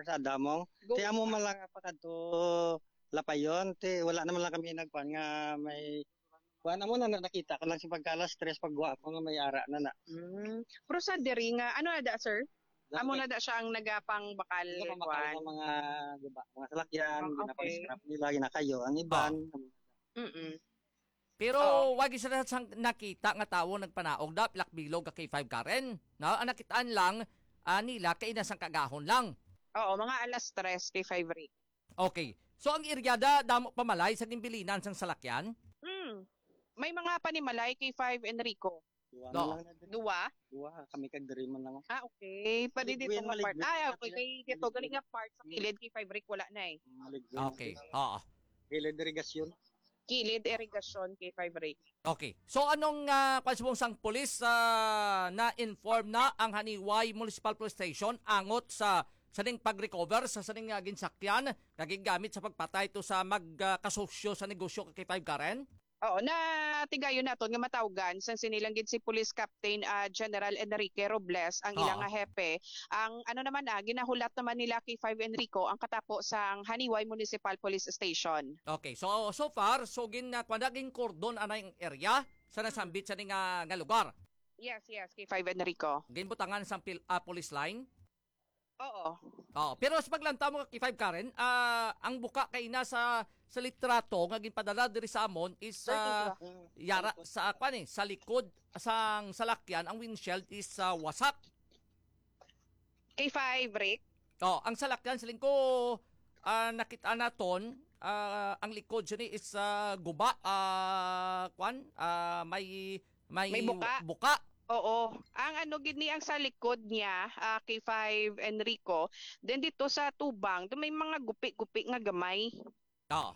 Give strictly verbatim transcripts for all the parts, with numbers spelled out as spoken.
Sa Adamong. Go. Ti amo man lang pa kadto Lapayon, ti wala naman lang kami nagkuan nga may kuan, amo na, na nakita ko lang si pagka alas tres pagwa ko nga may ara na na. Mm. Pero sa diri nga, ano na da, sir? Amo na da siya ang nagapangbakal, Hindi ko makal kuan. Sa mga, di ba, mga salakyan, Ah, okay. Ginapa-scrap nila, ginakayo, ang iban. Ah. Mm-mm. Pero Oo. Wag isa na sang nakita nga tawo nagpanaog da, pilak bilog ka K five Karen. No? Ang nakitaan lang, ah, nila kay ina sang kagahon lang. Oo, mga alas tres K five Rick. Okay. So ang area da, damo pa malay sa ginbilinan sang salakyan? Hmm. May mga panimalay K five Enrico. Duwa No. na lang na diri. Duwa? Duwa, kami kag diri man lang. Ah, okay. Pwede Maligwin, dito nga part. Maligwin. Ah, okay. Kay dito, Maligwin. Gali nga part sa kilid K five Rick, wala na eh. Maligwin. Okay. Oo. Kilid irigasyon. Kilid irigasyon K five Rick. Okay. So anong ah, kwan subong sang pulis ah, na-inform na ang Haniway Municipal Police Station angot sa sa ning pag-recover sa sa ning ah, ginsakyan nga gingamit sa pagpatay to sa magkasosyo sa negosyo ka K five Karen? Oo, na tigayon naton nga matawgan sang sinilang gid si Police Captain ah, General Enrique Robles ang ilang Oo. nga hepe. Ang ano naman na ginahulat naman nila K five Enrico ang katapo sang Haniway Municipal Police Station. Okay, so so far, so gin uh, kuwan na, gin cordon anay ang area sa nasambit sa ning ah, nga lugar. Yes, yes, K five Enrico. Ginbutangan sang pil, ah, police line. Oo. Oh, pero sa paglantaw mo K five Karen, ah, ang buka kay na sa sa litrato nga ginpadala diri sa amon is ah, Thirty-two. Yara sa kwan eh, sa likod sang salakyan ang windshield is ah, wasak. K five, Rick? Oh, ang salakyan siling ko ah, nakita naton ah, ang likod sini is ah, guba ah, kwan ah, may may May buka. buka. Oo. Ang ano gid ni ang sa likod niya, ah, K five Enrico, then dito sa tubang, do may mga gupi-gupi nga gamay. Oo.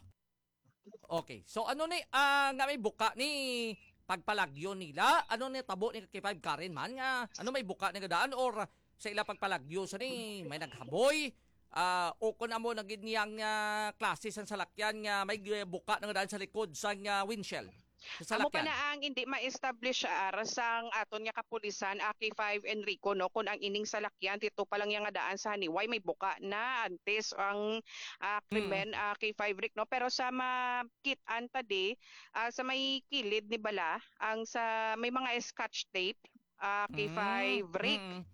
Okay. So ano ni ah, nga may buka ni pagpalagyo nila? Ano ni tabo ni K five Karen man nga ano may buka ni nga daan or sa ila pagpalagyo sa ni may naghaboy? Ah, o kun amo na gid niyang ah, klase sang salakyan nga may gi- buka na nga daan sa likod sang ah, windshield sa Amo pa salakyan. Na ang hindi ma-establish ar sang aton nga kapulisan, ah, K five Enrico, no, kun ang ining salakyan dito pa lang niya nga daan sa Haniway may buka na antes ang ah, krimen, ah, K five Rick, no? Pero sa makit-an ta di, ah, sa may kilid ni bala, ang sa may mga scotch tape, ah, K five Rick. Mm.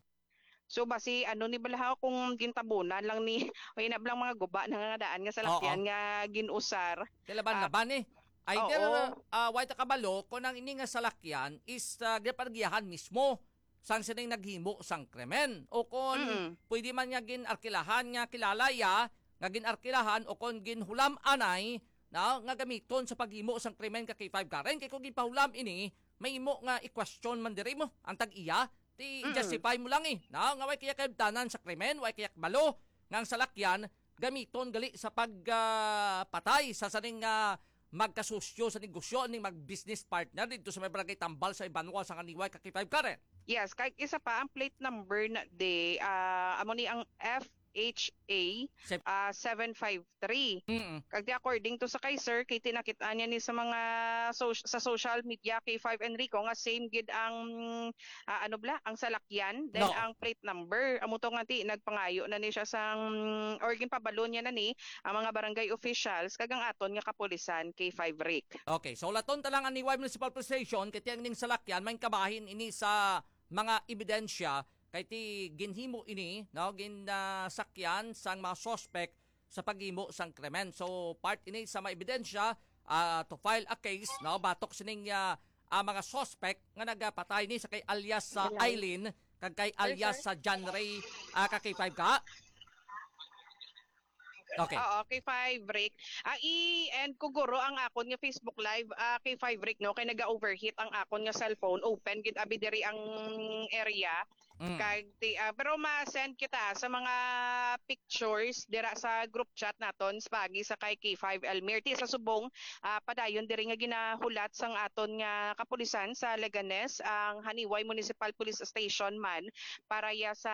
So basi ano ni bala ha, kung gintabunan lang ni o inab lang mga guba na nga daan nga salakyan Oo. Nga ginusar. Kay laban-laban eh. Either Oo. Ah, way ta kabalo kung ang ini nga salakyan is ah, ginapagiyahan mismo sang sining naghimo sang krimen o kon Mm. Pwede man nga gin-arkilahan nga kilala iya nga gin-arkilahan o kon ginhulam anay na nga gamiton sa paghimo sang krimen ka K five Karen kay kung ginpahulam ini mahimo nga i-question man diri mo ang tag-iya ti Mm. Justify mo lang eh na nga way kaya kaibtanan sa krimen way kaya kabalo nga ang salakyan gamiton gali sa pag ah, patay sa saning ah, magkasosyo sa negosyo ning mag-business partner dito sa may barangay Tambal sa Ibanwa sa Kaniway ka K five Karen. Yes, kay isa pa ang plate number na di ah, amo ni ang F H A Sep- ah, seven five three. Mm. Kag di according to sa kay sir, kay tinakit-an niya ni sa mga so- sa social media kay five Enrico nga same gid ang ah, ano bla, ang salakyan, then No. Ang plate number. Amo to nga ti nagpangayo na ni siya sang or ginpabalo niya na ni ang mga barangay officials kag ang aton nga kapulisan kay five Rick. Okay, so laton ta lang ang Niway Municipal Police Station kay tiang ning salakyan may kabahin ini sa mga ebidensya kay ti ginhimo ini no ginsakyan sang mga suspect sa paghimo sang krimen. So part ini sa mga ebidensya ah, to file a case no batok sining ah, ah, mga suspect nga nagapatay ni sa kay alias sa Ayan. Eileen kag kay Sir, alias sir. Sa John Ray ah, ka K five ka. Okay. Oo, K five Rick. Ah, i-end ko guro ang akon nga Facebook Live, ah, K five Rick, no, kay naga-overheat ang akon nga cellphone. Open gid abi diri ang area. Mm. Kag ti, ah, pero ma-send kita sa mga pictures dira sa group chat naton sa pagi sa kay K five Elmir. Ti sa subong ah, padayon diri nga ginahulat sang aton nga kapulisan sa Leganes ang Haniway Municipal Police Station man para ya sa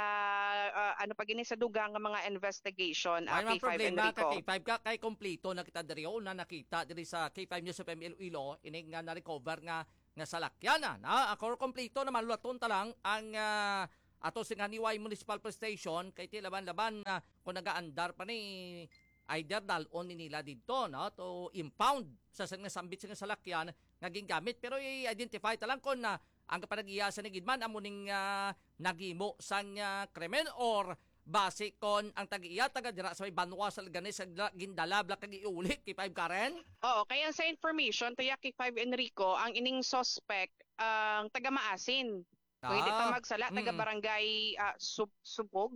ah, ano pa gini sa dugang nga mga investigation. Ay, ah, mga K five problema Enrico. Ka K five ka kay kompleto na kita diri o na nakita diri sa K five News F M Iloilo ining nga na-recover nga nga salakyan na, na ako kompleto na malulaton ta lang ang ah, ato sing Haniway Municipal Police Station, kay ti laban-laban na kung nagaandar pa ni, either dal-on ni nila didto, no, to impound sa sila nga sambit sa nga salakyan nga gingamit. Pero i-identify ta lang kung, ah, ang kapanag-iya sa nigidman amo ning, ah, naghimo sang, ah, krimen or basi kon ang tag-iya taga dira sa may banwa sa Leganes, sa gindala bala kag iuli, K five Karen? Oo, kaya sa information, Tuya K five Enrico, ang ining suspect, ang taga Maasin. Kung hindi ka Ah, magsala, taga mm. Barangay, ah, Sub-, Subog.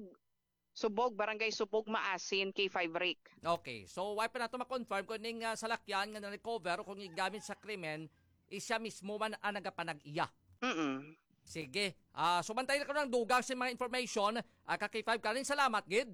Subog, Barangay Subog, Maasin, K five Rick. Okay. So, why pa nato ma-confirm kung ning, ah, salakyan nga na-recover o kung gigamit sa krimen, is siya mismo man ang nagapanag-iya? Mm-mm. Sige. Ah, so, bantay na ko ng dugang sa mga information. Ah, ka K five Karen, salamat, gid.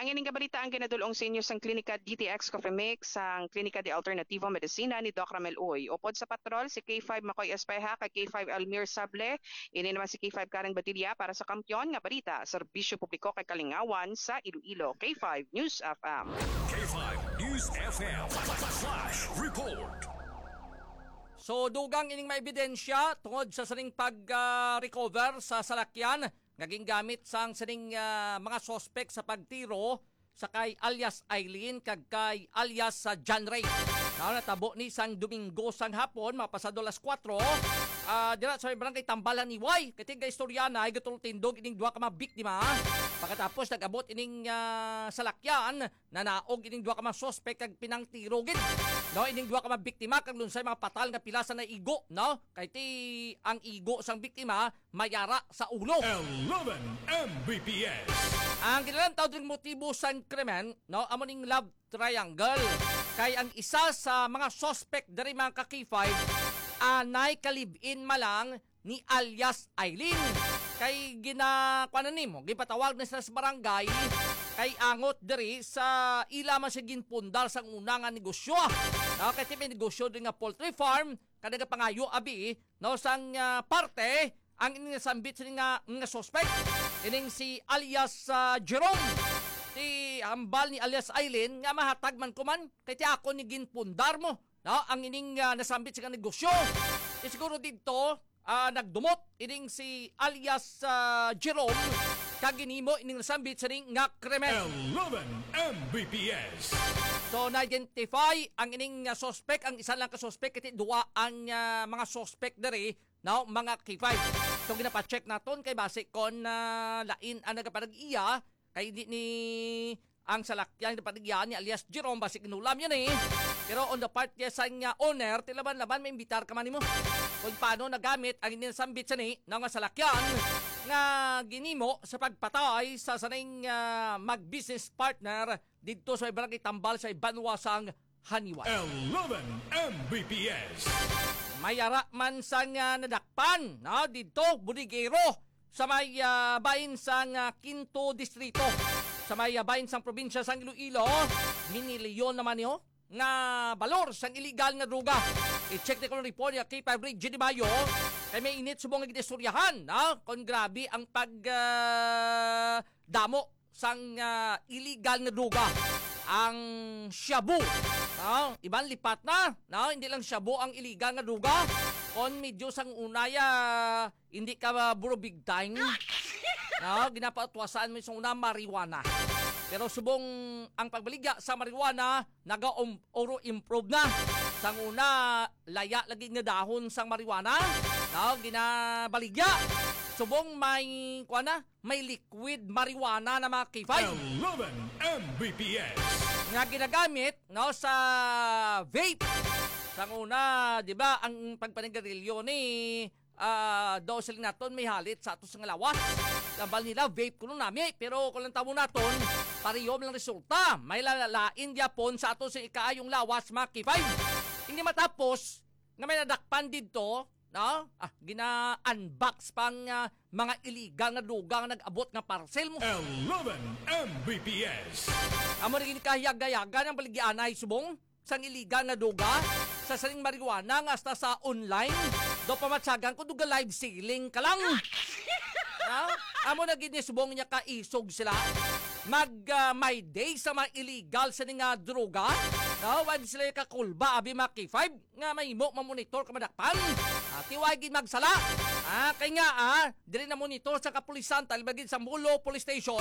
Ang ining kabalita ang ginadul-ong sa inyo sang Klinika D T X Coffee Mix, sang Klinika de Alternativo Medicina ni Doc Ramel Uy. Upod sa patrol, si K five Makoy Espeha kag K five Almir Sable. Ini naman si K five Karen Badilla para sa Kampiyon nga Balita, Serbisyo Publiko kag Kalingawan sa Iloilo. K five News F M. K five News F M Flash Report. So, dugang ining mga ebidensya tungod sa sining pag, ah, recover sa salakyan nga gingamit sang sining, ah, mga suspek sa pagtiro sa kay alias Eileen kag kay alias sa John Ray. Now, natabo ni sang Domingo sang hapon, mga pasado alas kuwatro, ah, dira sa may barangay Tambalan, Iway. Kay tiga istorya na, ay gatultindog ining duha ka mga biktima. Pagkatapos, nag-abot ining, ah, salakyan, nanaog ining duha ka mga suspek kag pinangtiro gid, no, ining duha ka mga biktima kag lunsay mga patal nga pila sa naigo, no? Kay ti ang igo sang biktima mayara sa ulo. Eleven M B P S. Ang ginalantaw ding motibo sang krimen, no, amo ning love triangle. Kay ang isa sa mga suspek diri, mga ka-K five, anay ka live-in man lang ni alias Eileen. Kay gina-, kuwan na nimo, gipatawag na sila sa barangay, kay angot diri sa ila man siya ginpundar sang una nga negosyo. Ah, kay ti may negosyo diri nga poultry farm, kay nagapangayo abi, no, sang, ah, parte ang ining nasambit sini nga, nga suspect. Ining si alias, ah, Jerome. Ti hambal ni alias Eileen nga mahatag man ko man, kay ti ako ni ginpundar mo, no, ang ining, ah, nasambit sa negosyo. Ti siguro didto, ah, nagdumot ining si alias, ah, Jerome kag ginhimo ining nasambit sini nga krimen. Eleven M B P S. So, na-identify ang ining, ah, suspect, ang isa lang ka suspect, kay ti duwa ang, ah, mga suspect diri, no, mga K five. So, ginapacheck naton kay basi kon, ah, lain ang nagapanag-iya, kay di ni ang salakyan na paligya ni alias Jerome, basig inulam yan eh. Pero on the part niya sa nga owner, tilaban-laban, maimbitar ka man nimo. Kung paano nagamit ang inyong sambit sa ni, na nga salakyan, nga ginimo sa pagpatay sa saning, ah, mag-business partner didto sa barangay Tambal sa Banwa sang Haniway. Eleven M B P S. May ara man sang, ah, nadakpan, no, didto, bodegero, sa may, ah, bahin sang, ah, Quinto Distrito, sa may, ah, bahin sang probinsya sang Iloilo, minilyon naman niyo nga balor sang iligal nga droga. I-check ni ko ang report ni K five Ray G Di Mayo, kay may init subong nga ginistoryahan, ha? Kung grabe ang pag, ah, damo sang, ah, illegal nga droga, ang shabu. No? Iban lipat na, no? Hindi lang shabu ang illegal nga droga. Kon medyo sang una ya, hindi ka, ah, buro big time. No? Ginapautwasan mo sang una marijuana. Pero subong ang pagbaligya sa marijuana, naga-, um, oro improve na. Sang una, laya lagi nga dahon sang marijuana. No? Ginabaligya. Subong may, kuwan na, may liquid marijuana na, mga K five. Eleven M B P S. Nga ginagamit, no, sa vape. Sang una, di ba, ang pagpanigarilyo ni, ah, daw siling naton may halit sa ato sa nga lawas. Tambal nila, vape kuno nami, pero kung lang tamo naton, pareho lang resulta. May lalain gyapon sa ato sa ikaayong lawas, mga K five. Hindi matapos nga may nadakpan didto, no? Ah, gina-unbox pang, ah, mga illegal nga droga nga nag-abot nga parcel mo. Eleven M B P S. Amo na gini kahiyag-hayagan ang baligyaanay subong sang illegal nga droga sa saning marijuana nga hasta sa online. Do pamatsagan ko, duga live selling ka lang. Ha? Amo na gini subong niya kaisog sila. Mag, ah, my day sa mga illegal sa nga droga. No? Wag sila kakulba, abi, mga K five. Nga mahimo mamonitor ka madakpan. Tiway gid magsala. Ah, kay nga, ah, diri na monitor sa kapulisan, talbagid sa Mulo Police Station,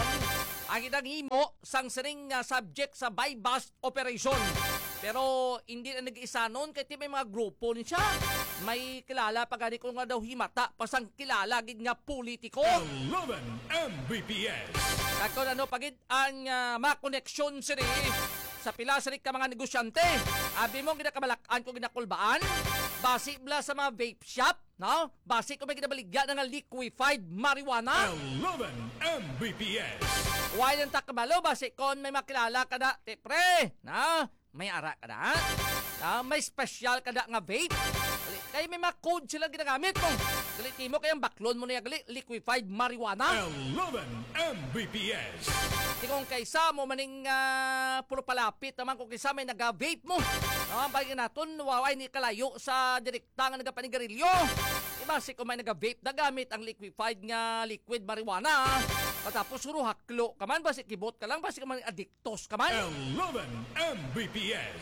ang ginahimo sang sining, ah, subject sa buy-bust operation. Pero hindi na nag-isanon kay ti may mga grupo ni siya. May kilala pa gani ko nga daw himata pa sang kilala gid nga politiko. Eleven M B P S. Kag kung ano pa gid ang, ah, mga koneksyon sini sa pila sini ka mga negosyante. Abi mo, ginakabalakan ko, ginakulbaan. Basi bala sa mga vape shop, no? Basi ko may ginabaligya na nga liquefied marijuana. Eleven M B P S. Why nang takbalo? Basi kon may makilala ka na, ti, pre, na? May ara ka na? Na? May special ka na nga vape? Dali, kay may mga code sila ginagamit mo. Dali, timo kay ang baklon mo na yung gali, liquefied marijuana. Eleven M B P S. Di kung kaysa mo maning, ah, puro palapit naman kung kaysa may naga-vape mo. No, ang bagay naton, waway ni kalayo sa direkta nga nagapanigarilyo. Di ba, si kung may naga-vape na gamit ang liquefied nga liquid marijuana, ah. Patapos, huro haklo ka man, basi kibot ka lang, basi ka man adiktos ka man. Eleven M B P S.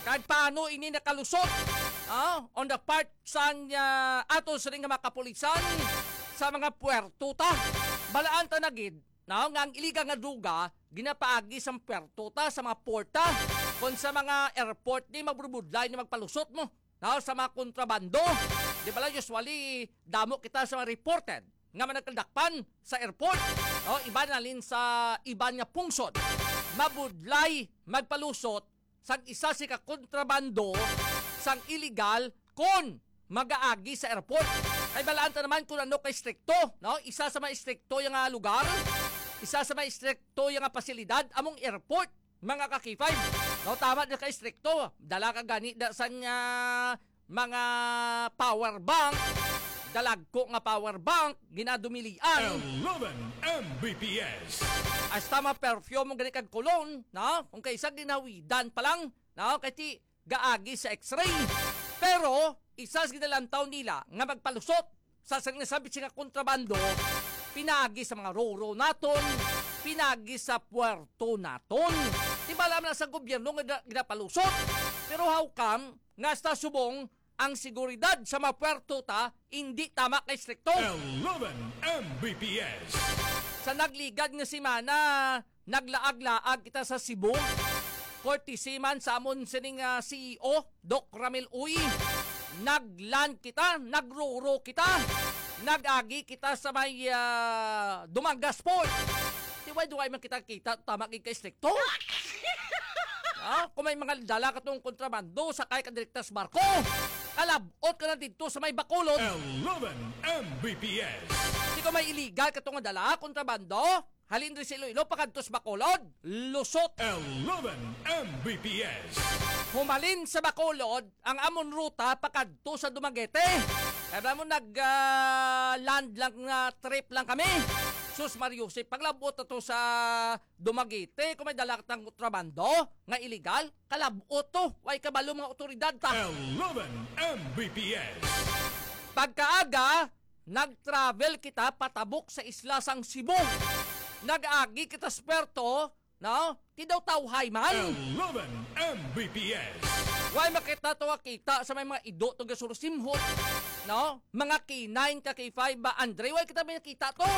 Kag paano ini nakalusot? Ah, on the part sang, ah, ato sining nga mga kapulisan sa mga puerto ta. Balaan ta na gid, no, nga ang iligal nga droga ginapaagi sa puerto ta, sa mga porta, kon sa mga airport ni magbudlay ni magpalusot mo, no, sa mga kontrabando. Di ba lang, usually damo kita sa mga reported nga managkaldakpan sa airport, no, iban na lin sa iban nga pungsod. Mabudlay magpalusot sang isa si ka kontrabando sang iligal kon magaagi sa airport. Kay balaan ta naman kung ano ka istrikto, no? Isa sa mga istrikto yung nga lugar, isa sa mga istrikto yung nga pasilidad, among airport, mga ka-K five. No, tama na ka istrikto. Dala ka gani da sang, ah, mga power bank, dalagko nga power bank, ginadumilian. Eleven M B P S. Hasta ma-perfume mo gani kag cologne, no? Kung kaysa ginawidan pa lang, no? Kay ti gaagi sa X-ray. Pero isa sa ginalantaw nila nga magpalusot sa sang nasabi nga kontrabando, pinaagi sa mga roro naton, pinaagi sa puerto naton. Di ba alam na sa gobyerno nga gina-, ginapalusot? Pero how come nga sa subong ang seguridad sa mga puerto ta hindi tama kay strikto? Eleven M B P S. Sa nagligad nga semana, naglaag-laag kita sa Cebu. Courtesy man sa amon sining, ah, C E O, Doc Ramil Uy. Naglan kita, nagruro kita, nag-agi kita sa may, ah, Dumangas Port. Di way duway man kita kita, tama gid kay strikto. Ah, kung may mga dala ka tong kontrabando, sakay ka direkta sa barko. Kalabot ka na dito sa may Bacolod. Eleven M B P S. Di ko may illegal ka tong dala, kontrabando. Halin rin sa Iloilo, pakadto sa Bacolod. Lusot. Eleven M B P S. Humalin sa Bacolod, ang amon ruta pakadto sa Dumaguete. Kaya mo nag, ah, land lang nga trip lang kami. Sus Mario, si paglabot na to sa Dumaguete, kung may dala tang kontrabando nga illegal, kalabot to. Way kabalo mga otoridad ta. Eleven M B P S. Pagkaaga, nag-travel kita patabok sa isla sang Cebu. Nag-agi kita sa puerto, no? Ti daw tawhay man. Eleven M B P S. Way makita to nga kita sa may mga ido to gasurusimhot, no? Mga K nine ka K five ba, Andre? Way kita may nakita to.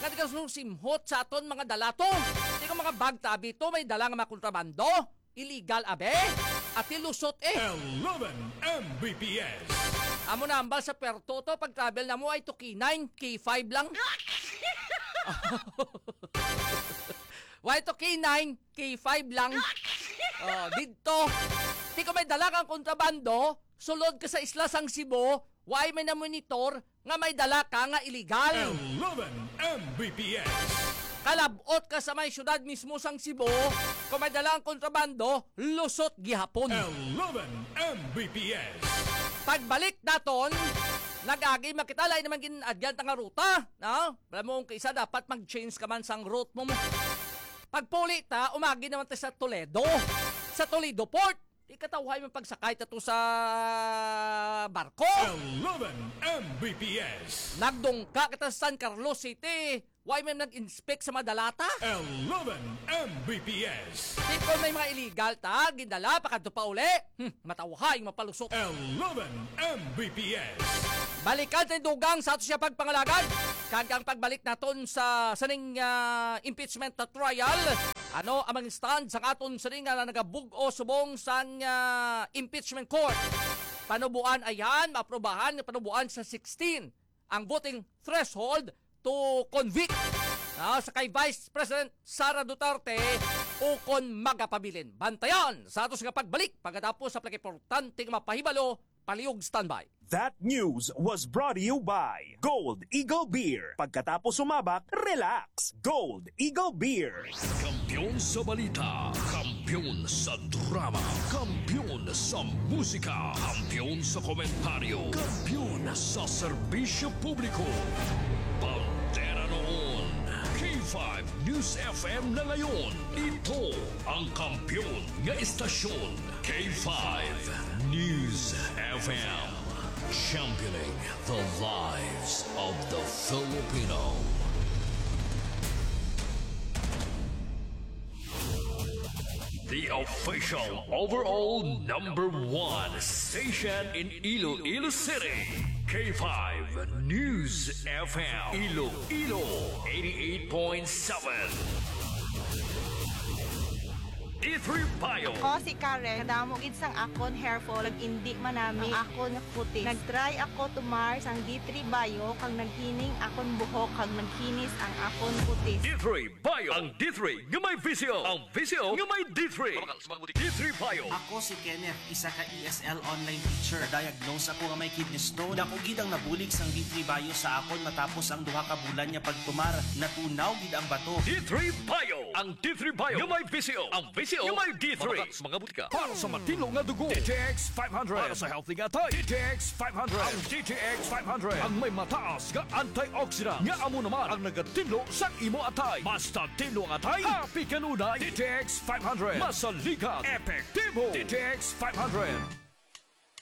Nga di gasurusimhot sa aton mga dala to. Di ko mga bag tabi to, may dala nga mga kontrabando. Illegal, abe? Ati lusot eh. Eleven M B P S. Amo na ambal sa puerto to, pag-travel na mo ay to K nine, K five lang. Why to K nine, K five lang? Oh, didto. Di ko may dala kang kontrabando, sulod ka sa isla sang Cebu, why may na-monitor nga may dala ka nga illegal? Eleven M B P S. Kalabot ka sa may syudad mismo sang Cebu, kung may dala ang kontrabando, lusot gihapon. Eleven M B P S. Pagbalik naton, nag-agi makita, lain naman gin-agyan ta nga ruta, no? Alam mo, kung kaisa dapat mag-change ka man sang route mo, mo. Pagpuli ta, umagi naman ta sa Toledo. Sa Toledo Port, di katawhay man pagsakay ta to sa barko. Eleven M B P S. Nagdungka kita sa San Carlos City. Why may nag-inspect sa mga dalata? Eleven M B P S. Di kon may mga illegal ta, gindala, pakadto pa uli. Hmm, matawhay, mapalusot. Eleven M B P S. Balikan sa dugang sa ato siya pagpangalagad. Kag ang pagbalik naton sa sining, ah, impeachment na trial. Ano ang mga stand sang aton sining nga nagabug-o subong sang, ah, impeachment court? Panubuan ayan, maaprobahan nga panubuan sa sixteen ang voting threshold to convict, ah, sa kay Vice President Sara Duterte ukon magapabilin. Bantayan sa ato nga pagbalik pagkatapos sa pinakaimportante nga mapahibalo. Palihog standby. That news was brought to you by Gold Eagle Beer. Pagkatapos sumabak, relax. Gold Eagle Beer. Kampiyon sa balita, kampiyon sa drama, kampiyon sa musika, kampiyon sa komentaryo, kampiyon sa serbisyo publiko. Bandera noon, K five News F M na ngayon. Ito ang kampiyon nga estasyon, K five News F M. Championing the lives of the Filipino. The official overall number one station in Iloilo City, K five News F M, Iloilo, eighty-eight point seven. D three Bio. Ako si Karen. Kadamo gid sang akon hair fall, kag indi manami ang akon nga kutis. Nag-try ako tumar sang D three Bio, kag naghining akon buhok, kag naghinis ang akon kutis. D three Bio. Ang D three nga may visyo. Ang visyo nga may D three. D three Bio. Ako si Kenneth, isa ka E S L online teacher. Diagnose ako nga may kidney stone. Dako gid ang nabulig sang D three Bio sa akon matapos ang duha ka bulan nga pagtumar. Natunaw gid ang bato. D three Bio. Ang D three Bio nga may visyo. Ang visyo nga may D three. Mabakal sa mga butika. Para sa matinlo nga dugo, D T X five hundred. Para sa healthy nga atay, D T X five hundred. Ang D T X five hundred ang may mataas nga antioxidant nga amo naman ang nagatinlo sang imo atay. Basta tinlo ang atay, happy kanunay. D T X five hundred. Masaligan, epektibo. D T X five hundred.